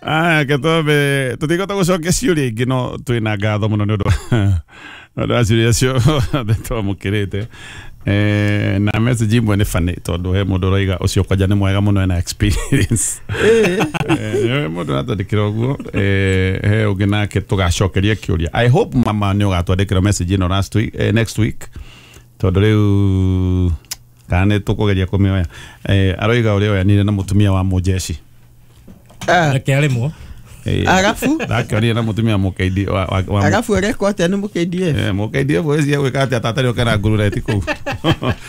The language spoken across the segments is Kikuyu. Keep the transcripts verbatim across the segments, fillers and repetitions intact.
Aya ketwambe tũtigota gũcokia ciũria ingĩ no twĩna ngatho mũno nĩ ũndũ ũndũ wa ciũria ciothe twamũkĩrĩte. Eh, na message imwe nĩ funny tondũ he mũndũ ũroiga ũcio kwanja nĩ mwega mũno ena experience. Eh, mũndũ aratwandĩkĩra ũguo. Eh, he ũngĩ nake tũgacokeria kĩũria. I hope mama nĩ ũgatwandĩkĩra message ĩno last week, eh, next week tondũ rĩu kana nĩ tũkũgeria kũmĩoya. Eh, aroiga ũrĩa oyanire na mũtumia wa mũjeshi. Reke arĩmwo. Arafu ndakĩonire na mũtumia mũkeidi wa wa wa arafu arekwo atĩa nĩ mũ K D F? Eh, mũ K D F ũcio gwĩka atĩa tatarĩ oke na nguruneti kũu.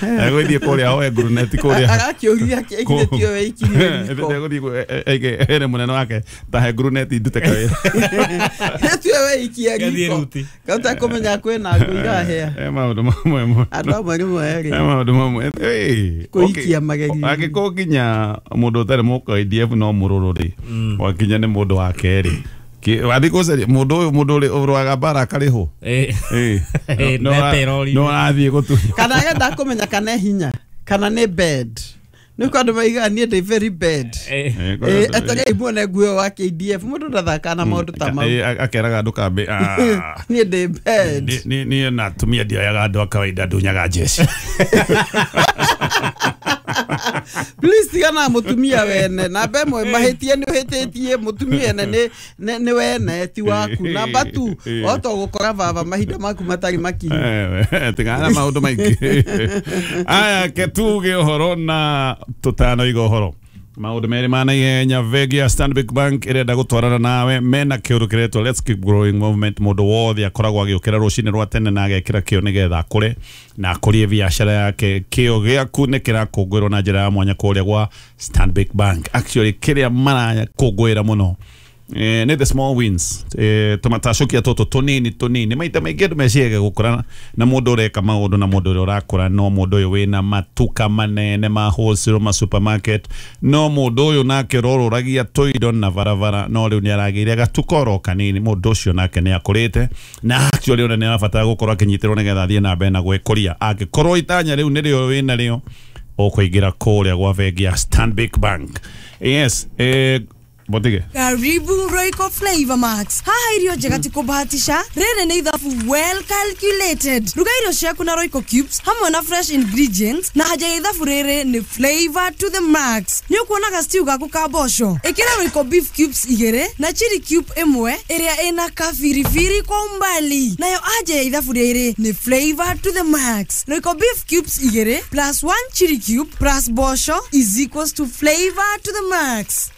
Egũthiĩ kũrĩa oe nguruneti kũrĩa. Arakĩũria kĩ tio weikirie riko. Egũthiĩ ere mũnene wake tahe nguruneti ndute kawĩra. Tio weikia riko. Kauta kũmenya kwĩna ngũ irahĩa. Eh, maũndũ mamwe mũno. Andũ amwe nĩ moerĩ. Eh, maũndũ mamwe. Eh, kũikia magerio. Angĩkorwo nginya mũndũ ũtarĩ mũ K D F no mũrũrũ rĩ. Wakinya nĩ mũndũ wa kerĩ. Wathi gũcaria mũndũ ũyũ mũndũ ũrĩ ũrũaga mbara akarĩhwo. Eh. Eh. No arathiĩ gũtunywo. Kana agenda kũmenya kana hinya kana nĩ bed. Nĩ kwa andũ maigaga niĩ ndĩ very bad. Eh, eterei muone nguo wa K D F mũndũ ndathakaga na maũndũ ta mau. Akeraga andũ kambĩ. Niĩ ndĩ bad. Niĩ na atumia ndioyaga andũ a kawaida ndunyaga jeshi. Please tigana mutumia wene namba ĩmwe mahĩtie nĩ ũhĩtĩtie mutumia ene nĩ nĩ wene ti waku namba tu wahota gũkora baba mahinda maku matarĩ makinyu. Tigana maũndũ maingĩ. Aya ke tuge ũhoro na tũtanoiga ũhoro maũndũ merĩ ma naihenya. Bengi ya Stanbic Bank ĩrenda gũtwarana nawe mena kĩũndũ kĩretwo Let's Keep Growing Movement. Mũndũ wothe akoragwo agĩũkĩra rũcinĩ rwa tene na agekĩra kĩo nĩgetha akũre na akũrie biacara yake. Kĩo gĩaku nĩ kĩrakũngũĩrwo na njĩra ya mwanya kũrĩa gwa Stanbic Bank. Actually kĩrĩa marakũngũĩra mũno eh, nĩ the small wins. eh, tũmatacokia tũtũ tũnini tũnini maita maingĩ andũ meciaga gũkũra na mũndũ ũreka maũndũ na mũndũ ũrĩa ũrakũra no mũndũ ũyũ wĩna matuka manene ma wholesale ma supermarket no mũndũ ũyũ nake ũrorũragia tũindo na barabara no rĩu nĩ aragĩire gatuka oro kanini. Mũndũ ũcio nake nĩ akũrĩte na actually ona nĩ arabatara gũkorwo akĩnyitĩrwo nĩgetha athiĩ na mbere na gwĩkũria. Angĩkorwo itanya rĩu nĩrĩo wĩna rĩo ũkũingĩra kũrĩa gwa bengi ya Stanbic Bank. Yes, eh, Botige. Karibu Royco Flavor Max. Haha irio njega ti kũbahatisha. Rĩrĩ nĩ ithabu well calculated. Ruga irio ciaku na Royco cubes hamwe na fresh ingredients na haja ya ithabu rĩrĩ nĩ flavor to the max. Nĩ ũkuona ga stew gaku ka mboco. Ĩkĩra Royco beef cubes igĩrĩ na chili cube ĩmwe ĩrĩa ĩna kabiribiri kwa umbali. Nayo haja ya ithabu rĩrĩ nĩ flavor to the max. Royco beef cubes igĩrĩ plus one chili cube plus mboco is equals to flavor to the max.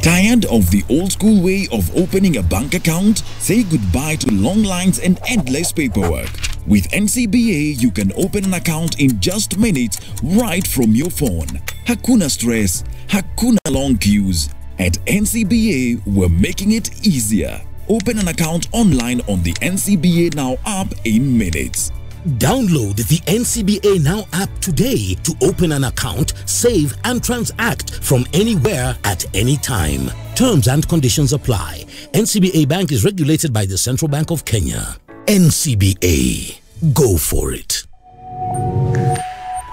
Tired of the old school way of opening a bank account? Say goodbye to long lines and endless paperwork. With N C B A, you can open an account in just minutes right from your phone. Hakuna stress, hakuna long queues. At N C B A, we're making it easier. Open an account online on the N C B A Now app in minutes. Download the N C B A Now app today to open an account, save and transact from anywhere at any time. Terms and conditions apply. N C B A Bank is regulated by the Central Bank of Kenya. N C B A. Go for it.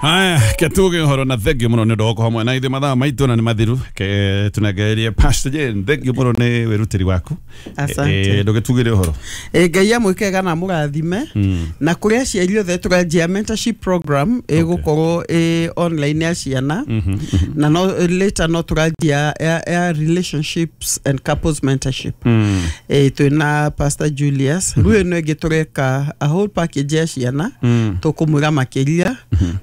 Haya, ketuge ũhoro na thank you mũno nĩ ũndũ wa gũkorwo hamwe na ithuĩ mathaa maitũ na nĩ mathiru. Ke tunegerie Pastor Jane, thank you mũno nĩ wĩrutĩri waku. Asante. Ndũgĩtugĩre ũhoro. Eh, Ngai amwĩkega na amũrathime. Na kũrĩ aciari othe tũranjia mentorship program ĩgũkorwo ĩ online ya ciana na no later no tũranjia ya relationships and couples mentorship. Eh, twĩna Pastor Julius. Rĩu ĩno ĩngĩ tũreka a whole package ya ciana tũkũmwĩra makĩria.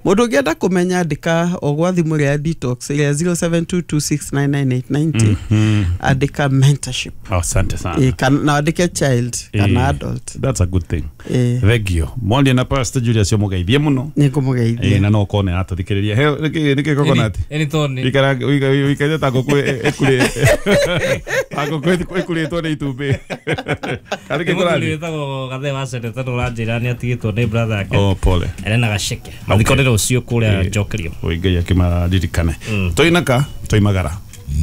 Mũndũ ũngĩenda kũmenya andĩka o gwa thimũ ĩrĩa ya detox ĩrĩa zero seven two two six nine nine eight nine zero andĩka mentorship. Asante sana. E, kan, na andĩke child kana adult. That's a good thing. E. Thank you. Mwaria na Pastor Julius mũgeithie mũno. Nĩ ngũmũgeithia. E, na no ũkorwo nĩ aratũthikĩrĩria. He nĩkĩ nĩkĩ coconut? Ĩni toni. Ikara wikaire ta ngũkũ ĩkurĩ. Ta ngũkũ ĩkurĩtwo nĩ itumbĩ. Karĩ kĩkũrathiĩ. Wĩtagwo Gathe wa Seneta nĩ ũranjĩra nĩ atigĩtwo nĩ brother yake. Oh, pole. Arena gaceke. Mathiko nĩ rũciũ kũrĩa Njokerio. Oi Ngai akĩmaririkane. Tũinaka tũimagara.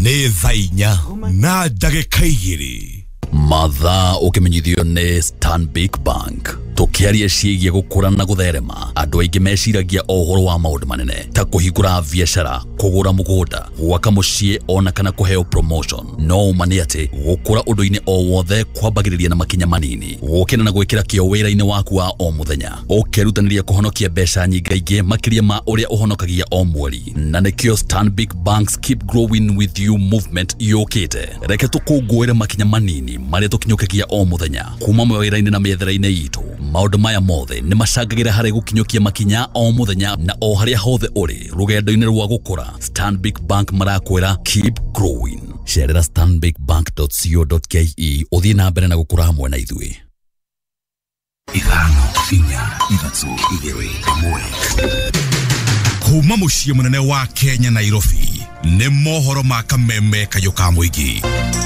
Nĩ thaa inya na ndagĩka igĩrĩ. Mathaa ũkĩmenyithio nĩ Stanbic Bank. Tukiaria ciĩgiĩ gũkũra na gũtherema, andũ aingĩ meciragia o ũhoro wa maũndũ manene ta kũhingũra biacara, kũgũra mũgũnda, gwaka mũciĩ ona kana kũheo promotion. No ũma nĩ atĩ gũkũra ũndũ-inĩ o wothe kwambagĩrĩria na makinya manini, gũkena na gwĩkĩra kĩo wĩra-inĩ waku wa o mũthenya, ũkerutanĩria kũhonokia mbeca nyingaingĩ makĩria ma ũrĩa ũhonokagia o mweri. Na nĩkĩo Stanbic Bank's Keep Growing With You movement yũkĩte. Reke tũkũngũĩre makinya manini marĩa tũkinyũkagia o mũthenya kuma mawĩra-inĩ na mĩethere-inĩ itũ. Maũndũ maya mothe nĩ macangagĩra harĩ gũkinyũkia makinya o mũthenya na o harĩa hothe ũrĩ rũgendo-inĩ rwa gũkũra. Stanbic Bank marakwĩra keep growing. Cerera stanbic bank dot co dot ke ũthiĩ na mbere na gũkũra hamwe na ithuĩ. Ithano inya ithatũ igĩrĩ ĩmwe. Kuma mũciĩ mũnene wa Kenya Nairobi nĩ mohoro ma kameme kayũ ka mũingĩ.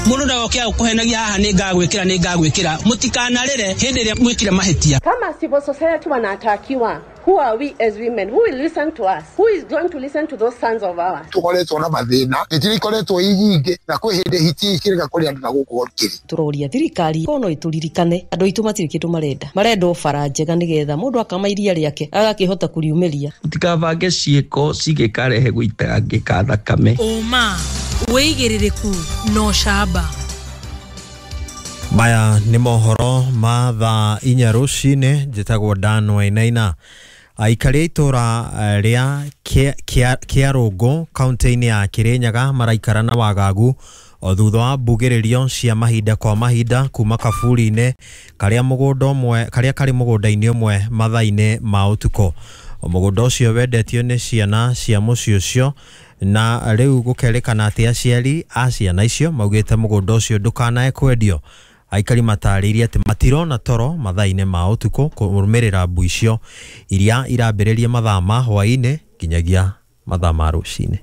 Mũndũ ndagoke agũkũhenagia haha nĩ ngagwĩkĩra nĩ ngagwĩkĩra, mũtikanarĩre hĩndĩ ĩrĩa mwĩkire mahĩtia. Kama civil society wanatakiwa, who are we as women? Who will listen to us? Who is going to listen to those sons of ours? Tukoretwo na mathĩna, hiti ikoretwo ii nyingĩ na kwĩ hĩndĩ hiti ikĩrega kũrĩ andũ na gũkũ kĩrĩ. Tũroria thirikari kono ĩtũririkane andũ aitũ matirĩ kĩndũ marenda, marenda o bara njega nĩgetha mũndũ akama iria rĩake agakĩhota kũriumĩria. Mũtikabange ciĩko cingĩkarehe gũitangĩka thakame. Ũma wĩigĩrĩrĩku no camba. Maya nĩ mohoro ma thaa inya rũcinĩ. Njĩtagwo Dan Wainaina. Aikari a itũra rĩa Kĩarũngũ kaunti-inĩ ya Kĩrĩnyaga maraikara na wagagu o thutha wa mbugĩrĩrio cia mahinda kwa mahinda kuma kaburi-inĩ karĩa mũgũnda ũmwe karĩa karĩ mũgũnda-inĩ ũmwe mathaa-inĩ ma ũtukũ. Mũgũnda ũcio wendetio nĩ ciana cia mũciĩ ũcio na rĩu gũkerĩkana atĩ aciari a ciana icio maugĩte mũgũnda ũcio ndũkanae kwendio. Aikari matarĩirie atĩ matirona toro mathaa-inĩ ma ũtukũ kũrũmĩrĩra mbu icio iria irambĩrĩria mathaa ma hwaĩ-inĩ nginyagia mathaa ma rũcinĩ.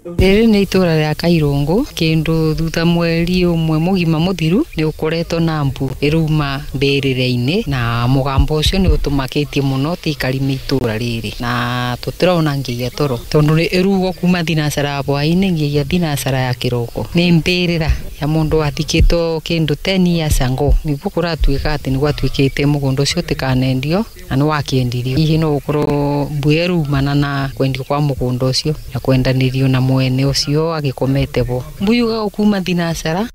Rĩrĩ nĩ itũra rĩa Kairũngũ, kĩndũ thutha mweri ũmwe mũgima mũthiru nĩ ũkoretwo na mbu ĩrauma mbĩrĩra-inĩ na mũgambo ũcio nĩ ũtũmakĩtie mũno tĩikari me itũra rĩrĩ na tũtirona nginya toro tondũ nĩ ĩrugwo kuma thinacara ya hwaĩ-inĩ nginya thinacara ya kĩroko. Nĩ mbĩrĩra ya mũndũ wathikĩtwo kĩndũ ten years ago nĩguo kũratuĩka atĩ nĩ gwatuĩkĩte mũgũnda ũcio ũtikanendio na nĩ wakĩendirio. Hihi no gũkorwo mbu ĩraumana na kwendio kwa mũgũnda ũcio na kwendanĩrio na mwene ũcio agĩkomete bo mbuyuga kuma thinacara.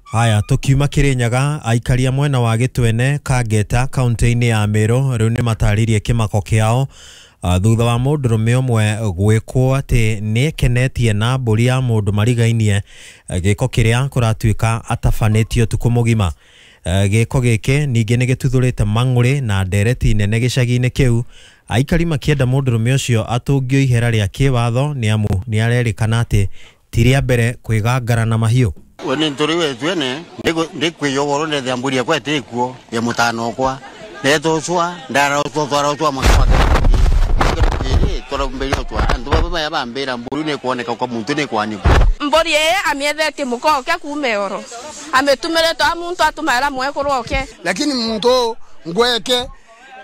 Haya, tukiuma Kirinyaga, aikari a mwena wa Gĩtwene Kangeta kaunti-inĩ ya Meru rĩu nĩ matarĩirie kĩmako kĩao thutha wa mũndũrũme ũmwe gwĩkwo atĩ nĩekenetie na mbũri ya mũndũ marigainie, gĩko kĩrĩa kũratuĩka atabanĩtio ũtukũ mũgima. Gĩko gĩkĩ ningĩ nĩ gĩtuthũrĩte mang'ũrĩ na ndereti nene gĩcagi-inĩ kĩu, aikari makĩenda mũndũrũme ũcio atũngio ihera rĩa kĩwatho nĩ amu nĩ arerĩkana atĩ ti rĩa mbere kwĩgangara na mahiũ. We nĩ tũrĩ wetwene ndĩkwĩyogoro ndethia mbũri yakwa ĩtĩkuo ya mũtano kwa ndetũcwa ndarotwatwarotwa mbũri nĩ kuoneka kwa muntu nĩ kwanikwo mbũri ĩ amĩethetie mũkoke kuma oro amĩtumĩrĩtwo a muntu atũmaĩra mwekũrwo oke lakini muntu ngweke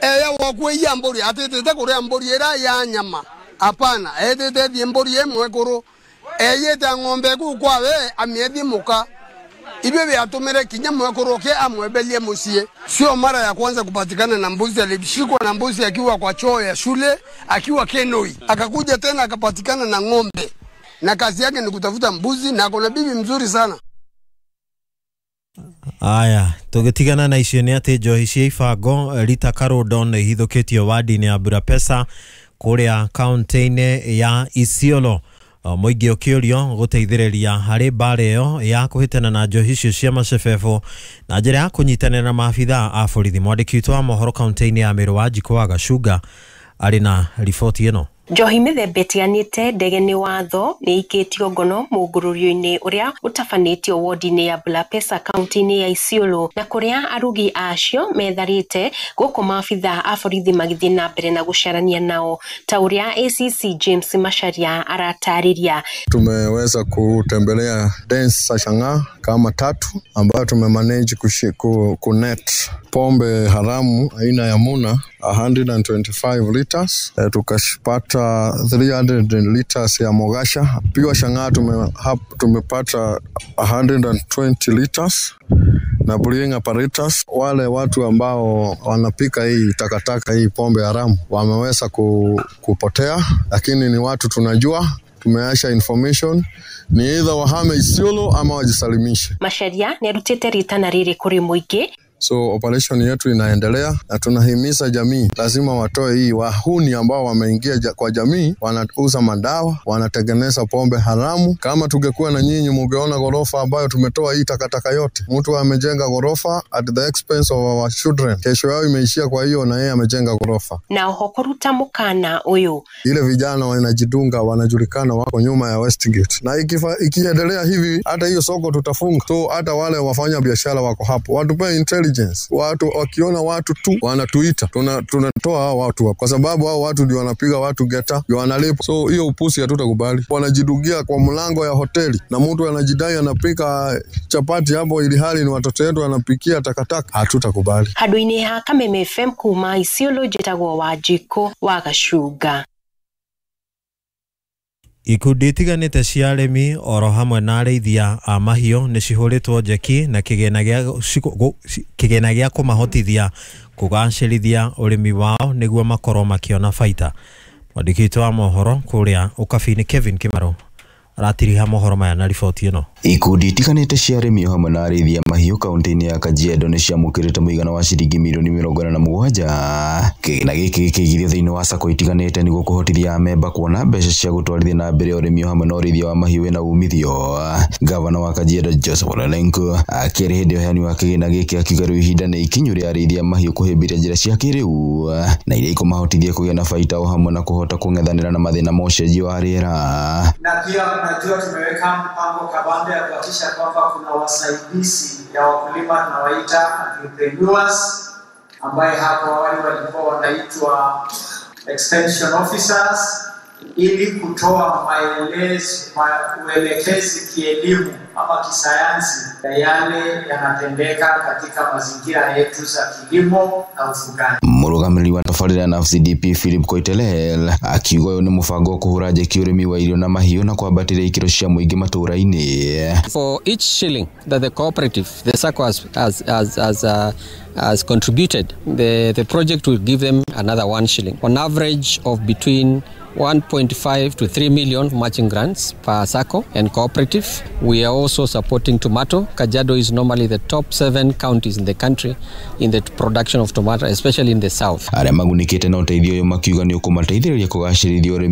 eya wakwĩia mbũri atĩtĩte kũrĩa mbũri ĩrĩa ya nyama apana etĩte thiĩ mbũri ĩmwe kũrũ eyete ng'ombe ku kwawe amiethi muka ibyo byatumire kinya mwekoroke amwebelie musie. Sio mara ya kwanza kupatikana na mbuzi, alishikwa na mbuzi akiwa kwa choo ya shule akiwa Kenoi, akakuja tena akapatikana na ng'ombe na kazi yake ni kutafuta mbuzi na akona bibi mzuri sana. Aya, tũgĩtigana na icio nĩ atĩ njohi cia ibango Rita Karondo nĩ ihithũkĩtio wadi-inĩ ya Burapesa kũrĩa kaunti-inĩ ya Isiolo. Mũingĩ ũkĩũrio gũteithĩrĩria harĩ mbara ĩyo ya kũhĩtana na njohi icio cia macebebo na njĩra ya kũnyitanĩra na maabithaa a borithi. Mwandĩki witũ wa mohoro kaunti-inĩ ya Meru Wanjikũ wa Gacunga arĩ na riboti ĩno. Njohi mĩthemba ĩtiganĩte ndege nĩ watho nĩ ikĩtio ngono mũngũrũrio-inĩ ũrĩa ũtabanĩtio wodi-inĩ ya Bulapesa kaunti-inĩ ya Isiolo na kũrĩa arugi acio metharĩte gũkũ maabithaa a borithi magĩthiĩ na mbere na gũcarania nao ta ũrĩa A C C James Macharia aratarĩria. Tumeweza kutembelea dance Shang'a kama tatu ambayo tumemanage ku, kunet pombe haramu aina ya Muna one hundred twenty-five liters, e, tukapata three hundred liters ya Mogasha. Pia Shang'a tume, tumepata one hundred twenty liters na brewing apparatus. Wale watu ambao wanapika hii takataka hii pombe haramu wameweza ku, kupotea, lakini ni watu tunajua, tumeasha information ni either wahame Isiolo ama wajisalimishe. Macharia nĩ arutĩte ritana rĩrĩ kũrĩ mũingĩ. So operation yetu inaendelea na tunahimiza jamii lazima watoe hii wahuni ambao wameingia ja, kwa jamii, wanauza madawa, wanatengeneza pombe haramu. Kama tungekuwa na nyinyi mungeona ghorofa ambayo tumetoa hii takataka yote. Mtu amejenga ghorofa at the expense of our children. Kesho yao imeishia kwa hiyo, na yeye amejenga ghorofa. Na oho kũruta mũkana ũyũ. Ile vijana wanajidunga, wanajulikana wako nyuma ya Westgate. Na ikifa, ikiendelea hivi hata hiyo soko tutafunga. So hata wale wafanya biashara wako hapo. Watupe intelligence. Watu wakiona watu tu wanatuita, tuna tunatoa hao watu hapo, kwa sababu hao watu ndio wanapiga watu geta, ndio wanalipa. So hiyo upusi hatutakubali. Wanajidugia kwa mlango ya hoteli na mtu anajidai anapika chapati hapo, ili hali ni watoto wetu wanapikia takataka. Hatutakubali. Handũ-inĩ ha Kameme F M kuma Isiolo, njĩtagwo Wanjikũ wa Gacunga. Ikundi itiganĩte cia arĩmi oro hamwe na arĩithia a mahiũ nĩ cihũrĩtwo njeki na kĩgĩna gĩa kĩgĩna gĩa kũmahotithia kũgacĩrithia ũrĩmi wao nĩguo makorwo makĩona baita. Mwandĩki witũ wa mohoro kũrĩa Ũkabi-inĩ Kevin Kimaro aratiriha mohoro maya na riboti ĩno. Ikundi itiganĩte cia arĩmi o hamwe na arĩithia mahiũ kaunti-inĩ ya Kajiado nĩ ciamũkĩrĩte mũigana wa ciringi mirioni mĩrongo ĩna na mũgwanja. Kĩgĩna gĩkĩ gĩkĩigithio thĩinĩ wa sacco itiganĩte nĩguo kũhotithia amemba kuona mbeca cia gũtwarithia na mbere ũrĩmi o hamwe na ũrĩithia wa mahiũ wĩna umithio. Gavana wa Kajiado Joseph Ole Lenku akĩaria hĩndĩ ya ũheani wa kĩgĩna gĩkĩ akiuga rĩu ihinda nĩ ikinyu rĩa arĩithia mahiũ kũhĩmbĩria njĩra cia kĩrĩu na iria ikũmahotithia kũgĩa na baita o hamwe na kũhota kũng'ethanĩra na mathĩna ma ũcenjia wa rĩera. Na pia unajua tumeweka mpango kabambe ya kuhakikisha kwamba kuna wasaidizi ya wakulima tunawaita agripreneurs, ambaye hapo awali walikuwa wanaitwa extension officers, ili kutoa maelezo, uelekezi kielimu ama kisayansi ya yale yanatendeka katika mazingira yetu za kilimo na ufugaji. Mũrũgamĩrĩri wa tabarĩra na F C D P Philip Koitelel akiuga ũyũ nĩ mũbango wa kũhũra njeki ũrĩmi wa irio na mahiũ na kwambatĩria ikĩro cia mũingĩ matũũra-inĩ. For each shilling that the cooperative, the SACCO has, has, has, has, uh, has contributed, the, the project will give them another one shilling. On average of between one point five to three million matching grants per SACCO and cooperative. We are also supporting tomato. Kajiado is normally the top seven counties in the country in the production of tomato, especially in the south. Arĩa magunĩkĩte na ũteithio ũyũ makiuga nĩ ũkũmateithĩrĩria kũgacĩrithia ũrĩmi